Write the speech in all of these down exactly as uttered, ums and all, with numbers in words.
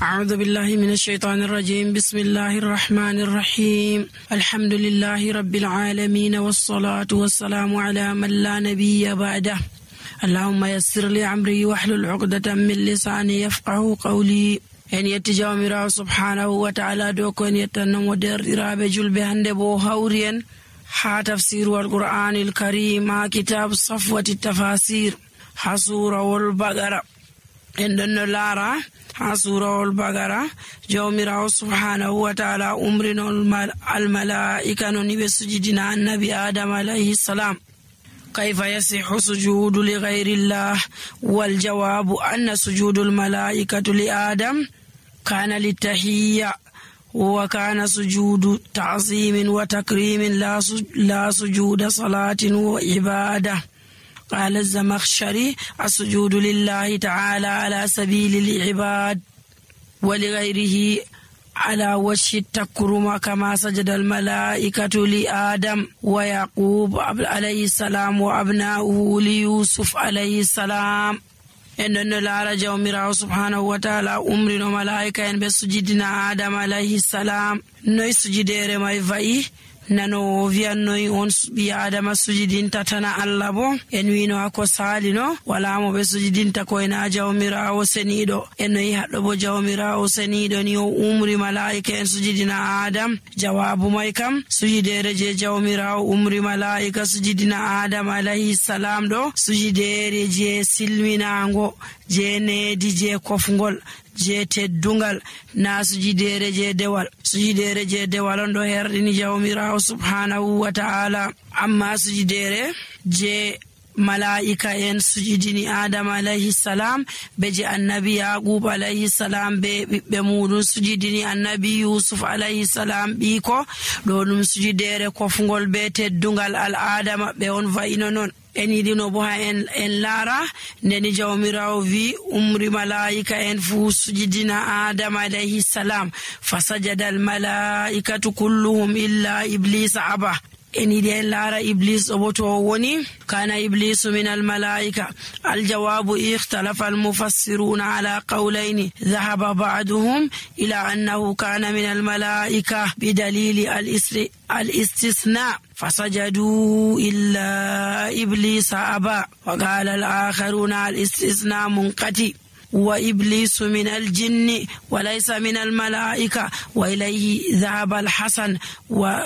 أعوذ بالله من الشيطان الرجيم. بسم الله الرحمن الرحيم. الحمد لله رب العالمين والصلاة والسلام على من لا نبي بعده. اللهم يسر لي أمري واحلل عقدة من لساني يفقه قولي. en yetti jawmirawo subhanahu wa ta'ala do ko en yettannomo derɗiraɓe julɓe hande bo hawri en ha tafsiru alqur'anil karim ha kitab safwati tafasir ha surawol bagara. en ɗon no laara ha surawol bagara jawmirawo subhanahu wa ta'ala umrinol almalaika non ɓe sujidina annabi adam alayhi salam. كيف يصح سجود لغير الله؟ والجواب أن سجود الملائكة لآدم كان للتحية، وكان سجود تعظيم وتكريم لا سجود صلاة وعبادة. قال الزمخشري: السجود لله تعالى على سبيل العباد ولغيره على وجه التكرم، كما سجد الملائكة لآدم ويعقوب عليه السلام وأبناؤه ليوسف عليه السلام. إن الله جوميرا سبحانه وتعالى أمرنا ملائكة إن بسجدنا آدم عليه السلام نوي سجدير ما يفعي nano wiyannoyi on ɓi adama sujidinta tana Allah bo en wino hako salino wala mo ɓe sujidinta koyna jawmirawo seniɗo. en no yi haɗɗo bo jawmirawo seniɗo ni o umri malaika en sujidina adam. jawabu may kam sujidere je jawmirawo umri malaika sujidina adam alayhi salam ɗo sujidere je silminago, je needi, je kofgol, je teddungal, na sujidere je dewal. sujidere je dewal on ɗo herɗini jawmirawo subhanahu wa ta'ala. amma sujidere je malaika en sujidini adam alayhi salam be je annabi yaqub alayhi salam be ɓiɓɓe muɗum sujidini annabi yusuf alayhi salam ɓiko ɗo ɗum sujidere kofgol be teddungal al'ada maɓɓe on va'ino non. en yiɗino bo ha en, en laara ndeni jawmirawo wi umri malaika en fuu sujidina adam alayhi salam fasajada al malaikatu kulluhum illa iblisa aba. en yiɗi en laara iblis ɗo bo to woni kana iblisu min al malaika. aljawabu ikhtalafa al mufassiruna ala qawlayni dhahaba ba'duhum ila annahu kana min al malaika bidalili al istisna فسجدوا إلا إبليس أبى. وقال الآخرون الاستثناء منقطع وإبليس من الجن وليس من الملائكة، وإليه ذهب الحسن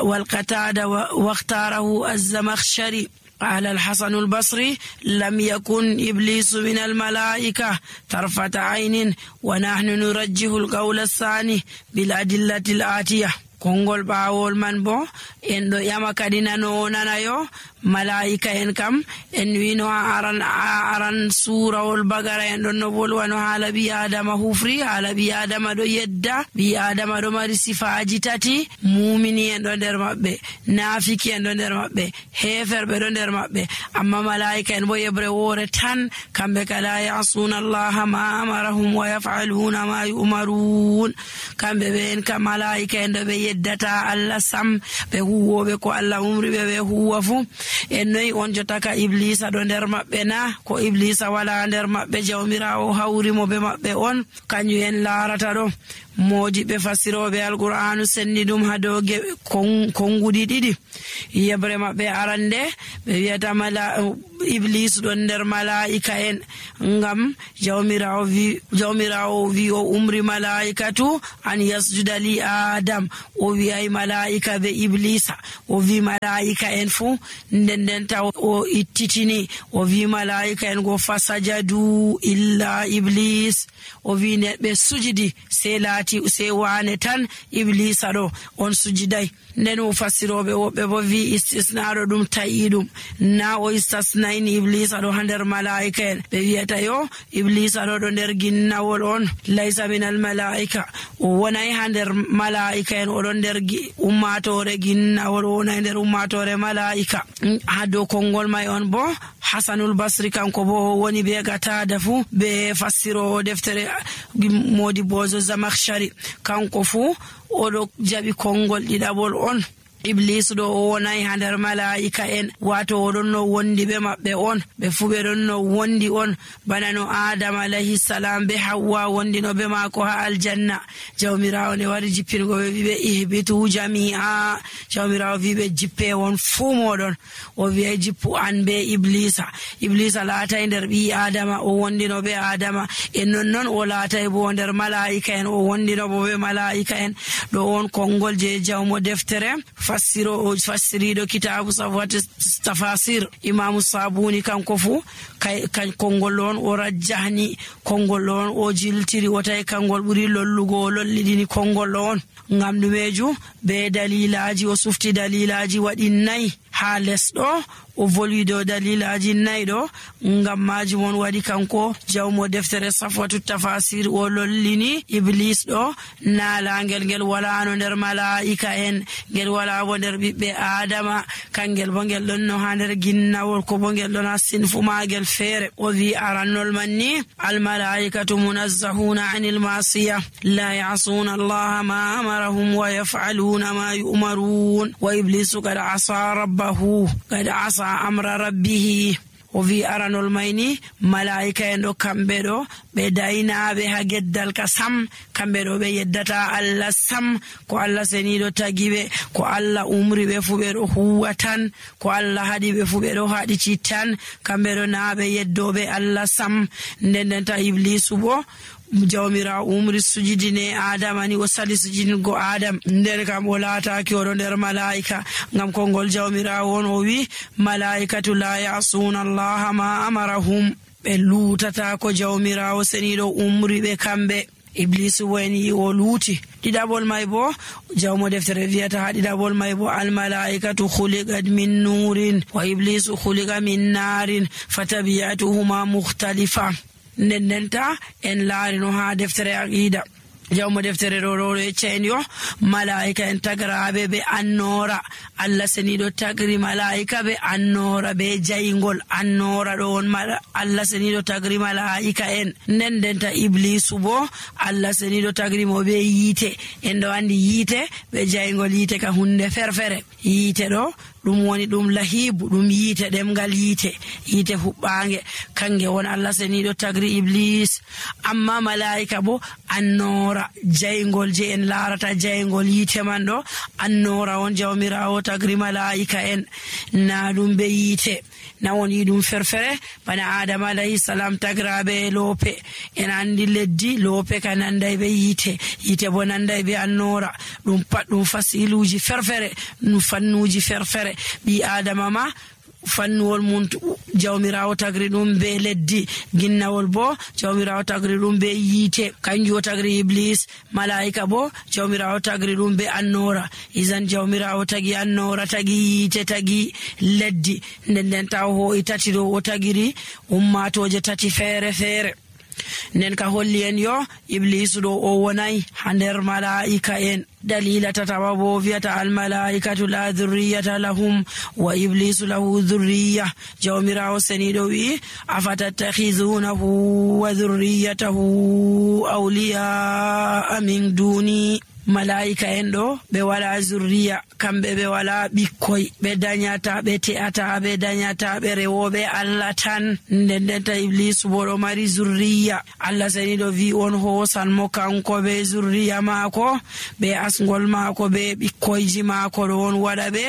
والقتادة واختاره الزمخشري. قال الحسن البصري: لم يكن إبليس من الملائكة طرفة عين، ونحن نرجح القول الثاني بالأدلة الآتية. kongol bawol man bo en do yama kadi nano nanayo malaika en kam en wino aran aran surawol bagara en don no bolwano hala bi adama hufri hala bi adama do yedda bi adama do mari sifaji tati. mumini en do der mabbe, nafiki en do der mabbe, heferbe do der mabbe. amma malaika en bo yebre wore tan kambe kala yasuna allah ma amarahum wa yaf'aluna ma yu'marun. kambe be en kam malaika en do be yeddata Allah sam be huwobe ko Allah umri be be huwa fu. en noy on jotaka iblisa do nder mabbe na ko iblisa wala nder mabbe jawmirawo hawri mo be mabbe on kanyu en laarata do. moji be fasirobe alqur'anu senni dum ha do kongudi didi yebre mabbe arande be wiata mala iblis do nder malaika en ngam jawmirawo vi jawmirawo vi o umri malaikatu an yasjuda li adam. o wi ay malaika be iblisa o vi malaika en fu nden den taw o ittitini o vi malaika en go fasajadu illa iblis. o vi ne be sujidi se lati se wane tan iblisa do on sujidai. nden o fasirobe wobbe bo vi istisnaro dum tayidum na o istisnaini iblisa do hander malaika en be wiata yo iblisa do do nder ginnawol on laysa min al malaika. o wonay hander malaika en o do nder ummatore ginnawol o wonay nder ummatore malaika. ha do kongol may on bo hasanul basri kanko bo woni be gatada fu be fasiro deftere modi bozo zamakhshari kanko fu oɗo jaɓi kongol ɗiɗaɓol on Iblis ɗo o wonay ha nder malaa'ika en, wato oɗon no wondi ɓe maɓɓe on, ɓe fu ɓe ɗon no wondi on bana no Adama alayhi salam be Hawwa wondi no be maako ha aljanna. Jawmirawo ne wari jippingo ɓe wi ɓe ihbitu jami'a, jawmirawo wi ɓe jippe won fuu moɗon, o wi'ay jippu an be Iblisa. Iblisa laatay nder ɓi Adama, o wondi no be Adama, e nonnon o laatay bo nder mala'ika en, o wondi no bo be mala'ika en. Ɗo on kongol je jawmo deftere fassiro o fassiriɗo kitabu safwat tafasir Imamu Sabuni kanko fu kan kongol on o rajjahni, kongol on o jiltiri, o tawi kangol ɓuri lollugo, o lollidini kongol on. Ngam ɗumeju? Be dalilaji, o sufti dalilaji waɗi nayi ha lesɗo, o volwi dow dalilaji nayi ɗo. Ngam majum on waɗi kanko jawmo deftere safwatu tafasir o lollini Iblis ɗo naalangel ngel walano nder mala'ika en, ngel wala bo nder ɓiɓɓe Adama, kangel bo ngel ɗon no ha nder ginnawol, ko bo ngel ɗon ha sinfu magel feere. O wi arannol man ni almalaikatu munazzahuna anil masiya la ya'suna allaha ma amarahum wa yaf'aluna ma yu'marun wa iblisu qad asa rabbahu qad asa amra rabbihi. O wi aranol mayni malaika en ɗo kamɓe ɗo ɓe daynaɓe ha geddal ka sam, kamɓe ɗo ɓe yeddata Allah sam, ko Allah seniɗo tagi ɓe, ko Allah umri ɓe fu ɓe ɗo huwa tan, ko Allah haɗi ɓe fu ɓe ɗo haɗiti tan, kamɓe ɗo na ɓe yeddoɓe Allah sam. Nden nden ta Iblisu bo jawmirawo umri sujidine Adama ni o sali sujidingo Adam, nden kam o laataki oɗo nder malaika, ngam kongol jawmirawo on o wi malaikatu la ya'suna allaha ma amarahum, ɓe lutata ko jawmirawo seniɗo umri ɓe kamɓe. Iblisu woni o luuti. Ɗiɗaɓol may bo jawmo deftere wiyata ha ɗiɗaɓol may bo almalaikatu khuliqat min nurin wa iblisu khuliqa min narin fatabiyatuhuma mukhtalifa. Nden ndenta en laari no ha deftere aqida jawmo deftere ɗo ɗo e ceen yo malaika en tagraɓe be annora, Allah seniɗo tagri malaika be annora be jayngol. Annora ɗo on Allah seniɗo tagri malaika en. Nden ndenta Iblisu bo Allah seniɗo tagri mo be yiite. En ɗo andi yiite be jayngol, yiite ka hunde ferfere. Yiite ɗo ɗum woni ɗum lahibu, ɗum yiite ɗemgal yiite, yiite huɓɓange, kange won Allah seniɗo tagri Iblis. Amma malaika bo annora, jayngol je en larata jayngol yiite man ɗo annora on jawmirawo tagri malaika en, na ɗum be yiite, na woni ɗum ferfere bana Adama alayhi salam tagraɓe loope. En andi leddi loope ka nanday be yiite, yiite bo nanday be annora. Ɗum pat ɗum fasiluji ferfere, ɗum fannuji ferfere. Ɓi Adama ma fannuwol mum jawmirawo tagri ɗum be leddi, ginnawol bo jawmirawo tagri ɗum be yiite, kanjum o tagri Iblis. Malaika bo jawmirawo tagri ɗum be annora. Izan jawmirawo tagi annora, tagi yiite, tagi leddi. Nden nden taw ho e tati ɗo o tagiri ummatoje tati feere feere. Nden ka holli en yo Iblisu ɗo o wonay ha nder malaika en. Dalila tatawa bo wiyata almalaikatu la dhurriyata lahum wa iblisu lahu dhurriya. Jawmirawo seniɗo wi afatattakhizunahu wa dhurriyatahu awliya min duni. Malaika en ɗo ɓe wala zurriya, kamɓe ɓe wala ɓikkoy, ɓe dañata, ɓe te'ata, ɓe dañata, ɓe rewoɓe Allah tan. Nden ndenta Iblisu bo ɗo mari zurriya. Allah seniɗo wi on hosan mo kanko ɓe zurriya maako, ɓe asgol maako, ɓe ɓikkoyji maako ɗo on waɗa ɓe,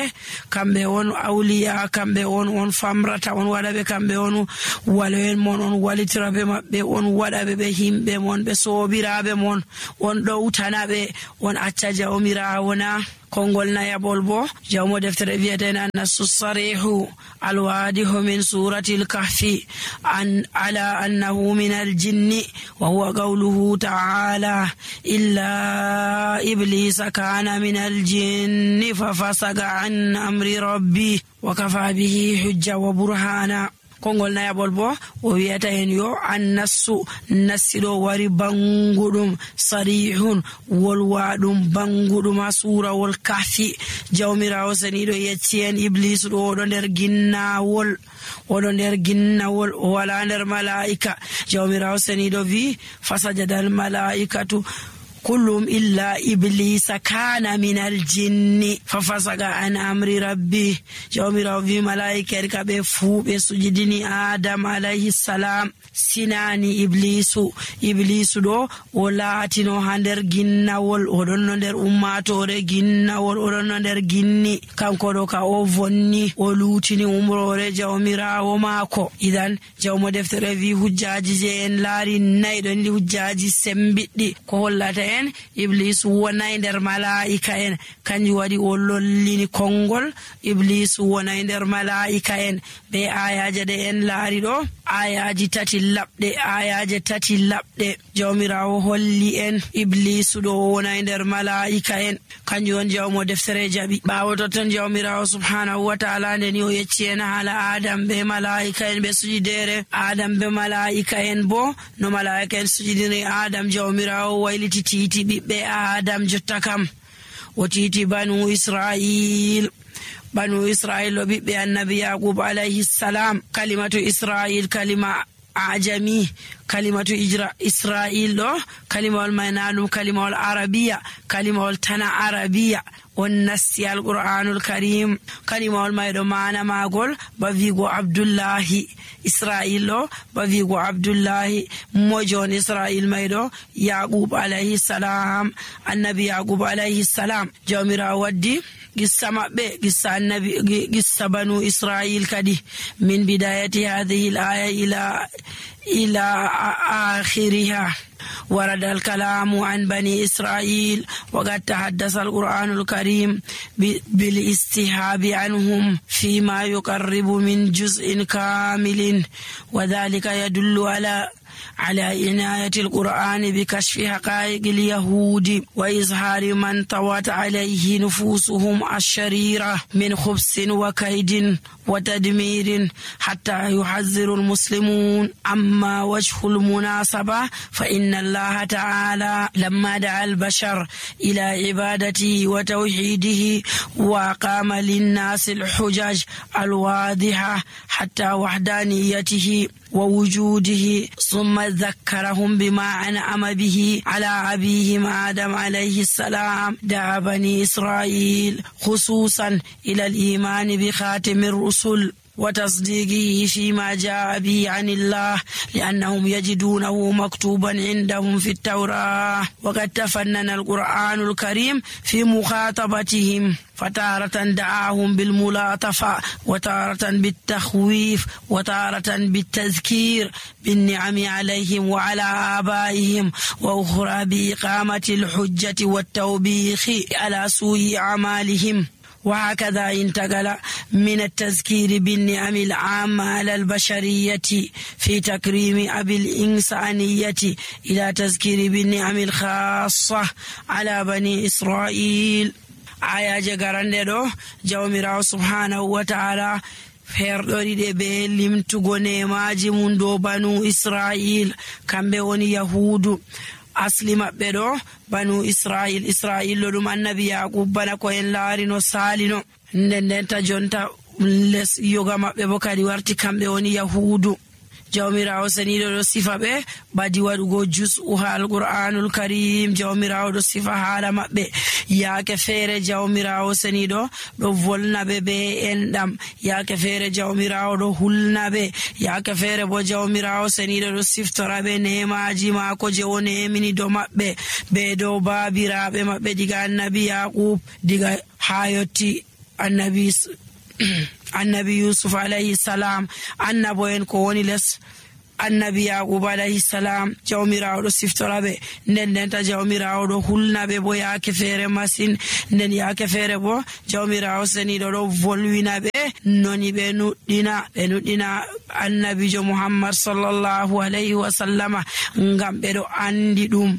kamɓe on awliya, kamɓe on on famrata, on waɗa ɓe, kamɓe on waloen mon, on walitira ɓe maɓɓe, on waɗa ɓe ɓe himɓe mon, ɓe sobiraɓe mon, on ɗowtana ɓe, on acca jawmirawo na. Kongol nayaɓol bo jawmo deftere wiyeten annasu sarihu alwadihu min surati lkahfi an ala annahu min aljinni wa huwa qawluhu ta'ala illa iblisa kana min aljinni fafasaga an amri rabbi wa kafa bihi hujja wa burhana. Kongol nayaɓol bo o wiyata hen yo annasu nassiɗo wari banguɗum sarihun wolwaɗum banguɗum ha surawol kahfi. Jawmirawo seniɗo yecci en Iblisu ɗo oɗo nder ginnawol, oɗo nder ginnawol, o wala nder malaika. Jawmirawo seniɗo wi fasajadal malaikatu kullum illa iblisa kana minal jinni fafasaga an amri rabbi. Jawmirawo wi malaika en kaɓe fuu ɓe sujidini Adam alayhi salam sinani iblisu. Iblisu ɗo o laatino ha nder ginnawol, oɗon no nder ummatore ginnawol, oɗon no nder ginni. Kanko ɗo ka o vonni o lutini umrore jawmirawo maako. Idan jawmo deftere wi hujjaji je en laari nayi ɗon ndi hujjaji sembiɗɗi ko hollata en iblisu wonay nder malaika en, kanjum waɗi o lollini konngol. Iblisu wonay nder malaika en be ayaje ɗe en laari ɗo, ayaji tati laɓɗe ayaje tati laɓɗe jawmirawo holli en iblisu ɗo wonay nder malaika en. Kanjum on jawmo deftere jaɓi. ɓawo totton jawmirawo subhanahu wa ta'ala ndeni o yecci en haala Adam be malaika en ɓe sujidere. Adam be malaika en bo no malaika en sujidiri Adam, jawmirawo wayliti titi ɓiɓɓe Adam jotta kam o titi banu Israil. Banu Israil o ɓiɓɓe annabi Yaqub alayhi salam. Kalimatu Israil kalima ajami, kalimatu ijra Israil ɗo kalimawol may na ɗum kalimawol arabiya, kalimawol tana arabiya on nasti alqur'anul karim. Kalimawol may ɗo mana magol ba wigo Abdullahi. Israil ɗo ba wigo Abdullahi. mojon Israil may ɗo Yaqub alayhi salam, annabi Yaqub alayhi salam. jawmirawo waddi qissa maɓɓe, qissa annabi, qissa banu Israil kadi min bidayati hadhihi al-aya ila ila akhiriha. ورد الكلام عن بني إسرائيل وقد تحدث القرآن الكريم بالاستهاب عنهم فيما يقرب من جزء كامل، وذلك يدل على على عناية القرآن بكشف حقائق اليهود وإظهار من طوت عليه نفوسهم الشريرة من خبث وكيد وتدمير حتى يحذر المسلمون. أما وجه المناسبة فإن الله تعالى لما دعا البشر إلى عبادته وتوحيده وقام للناس الحجج الواضحة حتى وحدانيته ووجوده، ثم ذكرهم بما أنعم به على أبيهم آدم عليه السلام، دعا بني إسرائيل خصوصا إلى الإيمان بخاتم الرسل وتصديقه فيما جاء به عن الله، لأنهم يجدونه مكتوبا عندهم في التوراة. وقد تفنن القرآن الكريم في مخاطبتهم، فتارة دعاهم بالملاطفة، وتارة بالتخويف، وتارة بالتذكير بالنعم عليهم وعلى آبائهم، وأخرى بإقامة الحجة والتوبيخ على سوء أعمالهم. وهكذا انتقل من التذكير بالنعم العامة على البشرية في تكريم أبي الإنسانية إلى تذكير بالنعم الخاصة على بني إسرائيل. ayaje garande ɗo jawmirawo subhanahu wa ta'ala ferɗoriɗe be limtugo nemaji mum dow banu Israil, kamɓe woni yahudu. asli maɓɓe ɗo banu Israil, Israil ɗo ɗum annabi Yaqub bana ko en laarino salino. nden ndenta jonta les yoga maɓɓe bo kadi warti kamɓe woni yahudu. jawmirawo seniɗo ɗo sifa ɓe badi waɗugo jus'u ha alqur'anul karim. jawmirawo ɗo sifa haala maɓɓe. yaake feere jawmirawo seniɗo ɗo volna ɓe be enɗam, yaake feere jawmirawo ɗo hulna ɓe, yaake feere bo jawmirawo seniɗo ɗo siftora ɓe nemaji maako je o nemini do maɓɓe be dow baabiraɓe maɓɓe diga annabi Yaqub diga ha yotti annabi annabi Yusuf alayhi salam, annabo en ko woni les annabi Yaqub alayhi salam. jawmirawo ɗo siftora ɓe, nden ndenta jawmirawo ɗo hulna ɓe bo yaake feere masin. nden yaake feere bo jawmirawo seniɗo ɗo volwina ɓe noni ɓe nuɗɗina ɓe nuɗɗina annabijo Muhammad sallallahu alayhi wa sallama, ngam ɓe ɗo andi ɗum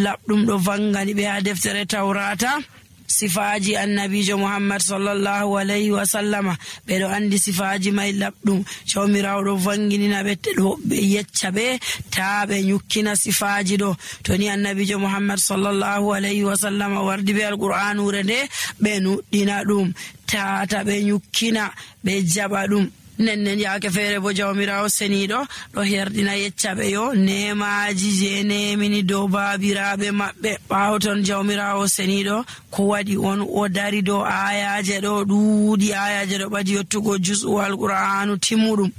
laɓɗum ɗo vangani ɓe ha deftere Tawrata. sifaji annabijo Muhammad sallallahu alayhi wa sallama ɓeɗo andi sifaji may laɓɗum. jawmirawo ɗo vanginina ɓe ɗo ɓe yecca ɓe ta ɓe nyukkina sifaji ɗo. to ni annabijo Muhammad sallallahu alayhi wa sallama wardi be alqur'anure nde ɓe nuɗɗina ɗum tata ɓe nyukkina ɓe jaɓa ɗum nennen yaake feere bo jawmirawo seniɗo ɗo herdina yeccaɓe yo nemaji je nemini dow babiraɓe maɓɓe. ɓawo ton jawmirawo seniɗo ko waɗi on o dari dow ayaje ɗo ɗuuɗi, ayaje ɗo ɓadi yottugo jus'u alqur'anu timmuɗum.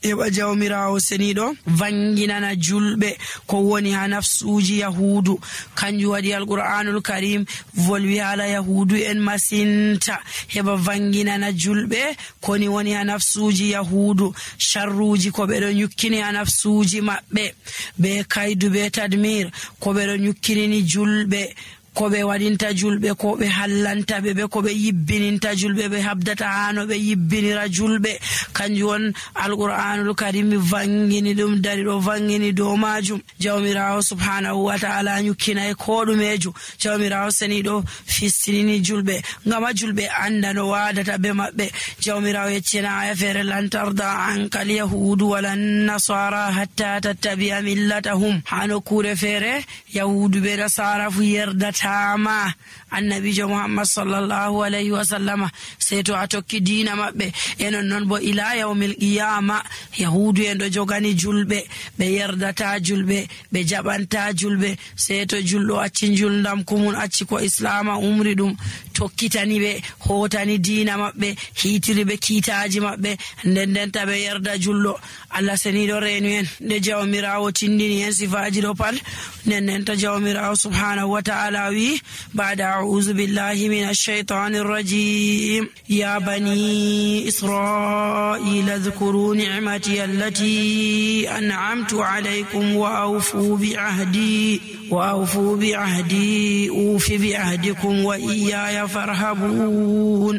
Eɓa jawmirawo seniɗo vanginana julɓe ko woni ha nafsuji yahudu. Kanjum waɗi alqur'anul karim volwi hala yahudu en masinta heɓa vanginana julɓe koni woni ha nafsuji yahudu, sharruji ko ɓeɗo nyukkini ha nafsuji maɓɓe, be kaydu be tadmir ko ɓeɗo nyukkinini julɓe, ko ɓe waɗinta julɓe, ko ɓe hallanta ɓe, ɓe ko ɓe yibbininta julɓe, ɓe habdata hano ɓe yibbinira julɓe. Kanjum won alqur'anul karim vangini ɗum dari ɗo vangini dow majum. Jawmirawo subhanahu wa ta'ala nyukkinai ko ɗumejo. Jawmirawo seniɗo fistinini julɓe ngama julɓe anda no wadata be maɓɓe. Jawmirawo yeccina aya feere lan tarda ankal yahudu walan nasara hatta tattabi'a millatahum. Hano kure feere yahudu be nasara fu yerdata tama annabijo muhammad sallallahu alayhi wa sallama sai to a tokki diina maɓɓe. enon non bo ila yawmil qiyama yahudu en ɗo jogani julɓe, ɓe yerdata julɓe, ɓe jaɓanta julɓe sai to julɗo acci julndam kumun, acci ko islama umri ɗum, tokkitani ɓe, hotani diina maɓɓe, hitiri ɓe kiitaji maɓɓe, nden ndenta ɓe yerda julɗo. Allah seniɗo renu en nde jawmirawo tindini en sifaji ɗo pat, nden ndenta jawmirawo subhanahu wa ta'ala wi ba'da a'udhu billahi minash shaitanir rajim ya bani isra'ila dhkuru ni'mati allati an'amtu alaykum wa awfu bi ahdi wa awfu bi ahdi ufi bi ahdikum wa iyaya farhabun.